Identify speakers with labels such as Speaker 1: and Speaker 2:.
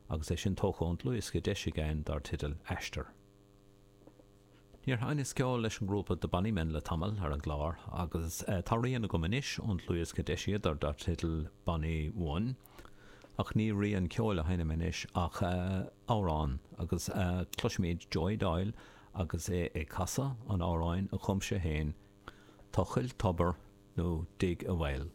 Speaker 1: Agus é sin tógtha ón dlúthdhiosca deis again dar teideal Aistear. Níor sheinneas ceol leis an ngrúpa The Bonny Men le tamall ar an gclár agus tá rian agam anois ón dlúthdhiosca d'eisíodar dar teideal Bonny One. Ach ní rian ceoil a sheinnim anois ach amhrán agus cloisfimid Joey Doyle agus é ag casadh an amhráin a chum sé féin, Tochail Tobar nó Dig a Well.